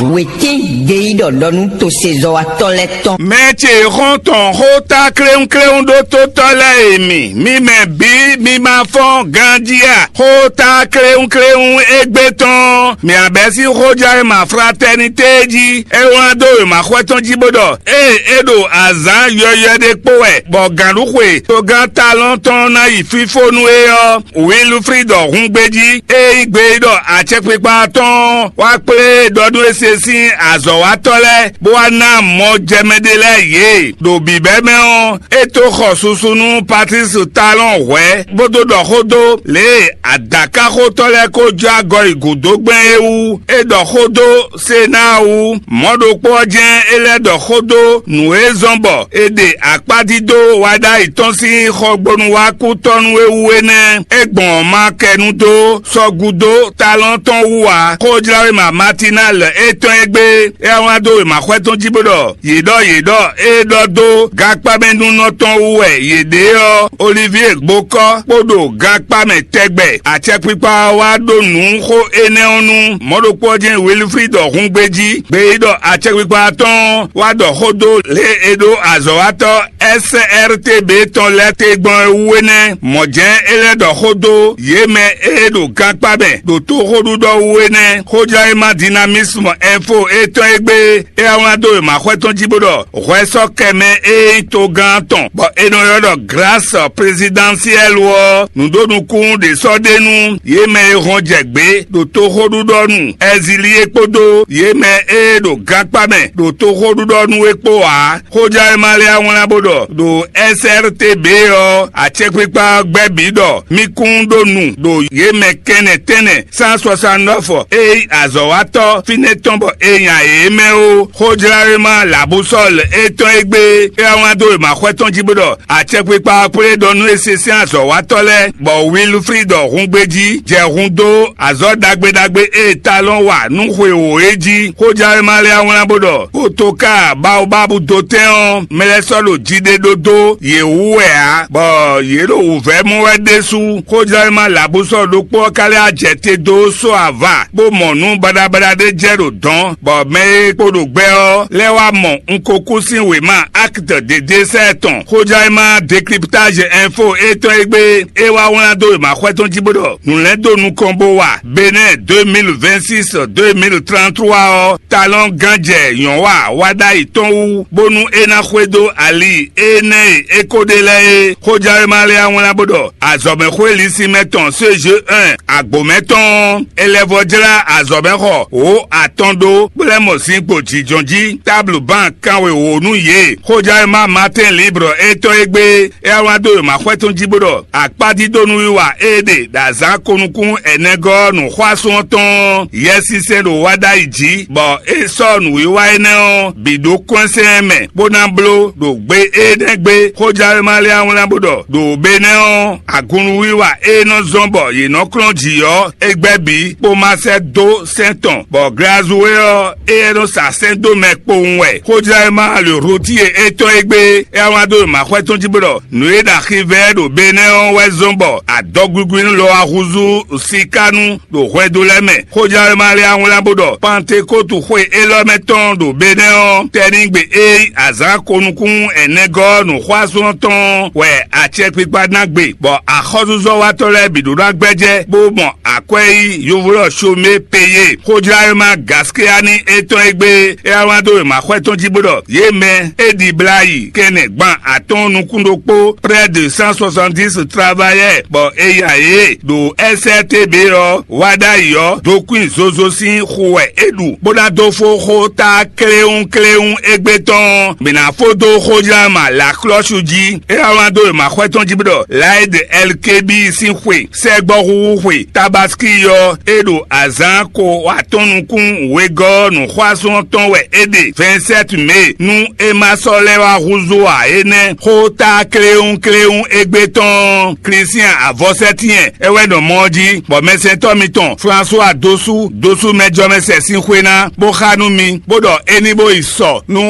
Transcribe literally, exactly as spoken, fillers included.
Wětín geyíɖɔ ɖɔ nú tosezɔ́watɔ́ lɛ́ɛ tɔn. Mɛ ce xɔ́ntɔn xóta kléwúnkléwún ɖó tótɔ́ lɛ́ɛ e mi, mi mɛ bǐ mi ma fɔ́n ganjí a? Xóta kléwúnkléwún égbé tɔn, mǐ abɛ́ sín xójánwéma fratɛ́nité jí. É wlán dó wěma xwɛ tɔn jí bó ɖɔ: Ée é ɖo azǎn yɔywɛ ɖé kpó wɛ, bɔ gǎnɖuxwe togán Talɔn tɔn ná yi fífó nú é ɔ́, Wilfrid ɔ́ hun gbejí, é nyí gbeyíɖɔ acɛkpikpa tɔn wá kplé ɖɔ nú é se sín azɔ̌watɔ́ lɛ́ɛ, bó wá ná mɔ jɛ mɛ ɖé lɛ́ɛ yě. Ɖo bǐbɛ́ mɛ ɔ́, é tó xɔ susu nú Patlísi Talɔn hwɛ̌, bó dó ɖɔ xó dó lě e adǎkaxotɔ́ lɛ́ɛ ko jó agɔ yi gǔdo gbɛn é wú. É ɖɔ xó dó Senáa wú. Mɔ̌ ɖokpó ɔ́ jɛ́n é lɛ́ ɖɔ xó dó nǔ e zɔ́n bɔ è ɖe akpádídó waɖ'ayǐ tɔn sín xɔgbónúwákútɔ́ nú é wú é nɛ́. É gbɔn ɔ́ ma kɛ nu dó sɔ́ gúdo Talɔn tɔn wú ǎ. Xójláwéma Matinal é tɔ́n é gbé, é wá wlán dó wěmaxwɛ tɔn jí bó ɖɔ: Yě ɖɔ yě ɖɔ é ɖɔ dó gankpámɛnúnɔ tɔn wú wɛ yě ɖe ɔ́, Olivíe gbokɔ́ kpó ɖo gankpá mɛ tɛgbɛ. Acɛkpikpa ɔ́ wá ɖó nǔ xó énɛ́ ɔ́ nu. Mɔ̌ ɖokpó ɔ́ jɛ́n Wilfrid ɔ́ hun gbejí. Gbeyíɖɔ acɛkpikpa tɔn wá ɖɔ xó dó lě e è ɖó azɔ̌watɔ́ S R T B tɔn lɛ́ɛ te gbɔn é wú é nɛ́. Mɔ̌ jɛ́n é lɛ́ ɖɔ xó dó yě mɛ e ɖo gankpá mɛ ɖo tóxóɖuɖɔ wú é nɛ́. Xójlɔ́yímá Dynamisme Info é tɔn é gbé, é wá wlán dó wěmaxwɛ tɔn jí bó ɖɔ: Hwɛ sɔ́ kɛ mɛ e nyí togán tɔn, bɔ è nɔ ylɔ́ ɖɔ Grâce Présidentielle ɔ́, nǔɖonukún ɖě sɔ́ ɖe nú yě mɛ e hɔn jɛ gbě ɖo tóxóɖuɖɔ nu Ɛzilíe kpódó yě mɛ e ɖo gankpá mɛ ɖo tóxóɖuɖɔ nu é kpó ǎ. Xójlɔ́yímá lɛ́ɛ wá wlán bó ɖɔ ɖo S R T B ɔ́, acɛkpikpa ɔ́ gbɛ́ bǐ ɖɔ mì kún ɖó nu ɖo yě mɛ kɛnɛ tɛ́nnɛ cent soixante-neuf e nyí azɔ̌watɔ́ fínɛ́ tɔn bɔ è nya yě mɛ ó. Xójláwéma Labusɔ́l é tɔn é gbé, é wá wlán dó wěmaxwɛ tɔn jí bó ɖɔ: Acɛkpikpa ɔ́ kplé ɖɔ nú é se sín azɔ̌watɔ́ lɛ́ɛ, bɔ Wilfrid ɔ́ hun gbejí jɛ hun dó azɔ̌ ɖagbe ɖagbe e Talɔn wa nú xwe wǒ é jí. Xójláwéma lɛ́ɛ wá wlán bó ɖɔ: Potoka Baobab dotɛ́n ɔ́, mɛ lɛ́ɛ sɔ́ ɖo jiɖeɖó dó yě wú wɛ ǎ, bɔ yě ɖo wǔvɛ́ mɔ wɛ ɖésú. Xójlɔ́yímá Labusɔ́ ɖokpó ɔ́ ka lɛ́ wá jɛ te dó só ava, bó mɔ nǔ baɖabaɖa ɖé jɛ ɖo dɔ̌n, bɔ mɛ e kpo ɖo gbɛ ɔ́ lɛ́ wá mɔ un ko kú sín wěma Acte de Décès tɔn. Xójlɔ́yímá Décryptage Info é tɔn é gbé, é wá wlán dó wěmaxwɛ tɔn jí bó ɖɔ: Nǔ lɛ́ɛ dó nukɔn bó wa Benɛ́ɛ deux mille vingt-six, deux mille trente-trois ɔ́, Talɔn gán jɛ nyɔ̌wa wa ɖ'ayǐ tɔn wú, bónú é ná xwedó ali énɛ́ e é ko ɖe lɛ́ɛ é. Xójlɔ́yímá lɛ́ɛ wá wlán bó ɖɔ: Azɔ̌mɛxwé Lisimɛ tɔn C G un agbǒmɛ tɔn ɔ́, è lɛ́ vɔ́ jlá azɔ̌mɛxɔ wǒ atɔn ɖó, bó lɛ́ mɔ zinkpo jǐjɔ́n jí, táblu ban kanwe wǒ nú yě. Xójlɔ́yímá Matin Libre é tɔn é gbé, é wá wlán dó wěmaxwɛ tɔn jí bó ɖɔ: Akpádídónúwiwa e è ɖe ɖo azǎn ko nukún ɛnɛgɔ́ nǔxwásún ɔ́ tɔn ɔ́, Yɛsinsɛn ɖo wa ɖ'ayǐ jí, bɔ é sɔ́ nǔwiwa énɛ́ ɔ́ bǐ ɖó kɔ́nsɛn mɛ, bó ná bló ɖo gbe énɛ́ gbe. Xójlɔ́yímá lɛ́ɛ wá wlán bó ɖɔ: Ɖo Benɛ́ɛ ɔ́, agunnuwiwa e nɔ zɔ́n bɔ yě nɔ klɔ́n jǐ ɔ́, é gbɛ́ bǐ, bó ma sɛ́ dó sɛ́n tɔn, bɔ Glazuwe ɔ́, éyɛ́ nɔ sa sɛ́n dó mɛ kpowun wɛ. Xójlɔ́yímá Lǒtíye é tɔn é gbé, é wá wlán dó wěmaxwɛ tɔn jí bó ɖɔ: Nǔ e ɖo axivɛ ɖo Benɛ́ɛ ɔ́ wɛ zɔ́n bɔ adɔgwigwi lɔ wá húzú sikánu ɖo hwɛndo lɛ́ɛ mɛ. Xójlɔ́yímá lɛ́ɛ wá wlán bó ɖɔ: Pantekótu xwe élɔ́ mɛ tɔn ɖo Benɛ́ɛ ɔ́, tɛ́nigbe e nyí azǎn ko nukún ɛnɛgɔ́ nǔxwásún ɔ́ tɔn wɛ acɛkpikpa ná gbe, bɔ axɔ́súzɔ́watɔ́ lɛ́ɛ bǐ ɖó ná gbɛ́jɛ́, bó mɔ akwɛ́ yí yovlɔ́ Shomé Peyé. Xójlɔ́yímá Gaskiyani é tɔn é gbé, é wá wlán dó wěmaxwɛ tɔn jí bó ɖɔ: Yě mɛ e ɖibla yi kɛnɛ gban atɔ́ɔ́n nukún ɖokpó, près de cent soixante-dix travailleurs, bɔ è nya yě ɖo S R T B ɔ́, wa ɖ'ayǐ ɔ́, dokwín zozo sín xu wɛ é ɖu, bó ná dó fó xó ta kléwún kléwún égbé tɔn. Mǐ ná fó dó xójlá ma Laklɔ́su jí. É wá wlán dó wěmaxwɛ tɔn jí bó ɖɔ: Laide Ɛlkebi sín xwe, sɛgbɔ́xúxú xwe Tabaski ɔ́, é ɖo azǎn ko atɔ́ɔ́n nukún wegɔ́ nǔxwásún ɔ́ tɔn wɛ é ɖe, vingt-sept mai, nú é ma sɔ́ lɛ́ wá húzú ǎ é nɛ́. Xó ta kléwún kléwún égbé tɔn, Klísián avɔsɛ́tyɛn é wɛ nɔ mɔ ɔ́ jí, bɔ mɛsɛntɔ́ mitɔn Flasuwa dó sú dó sú mɛjɔmɛsɛn sín xwé ná, bó xá nú mi, bó ɖɔ é ní bó yi sɔ nú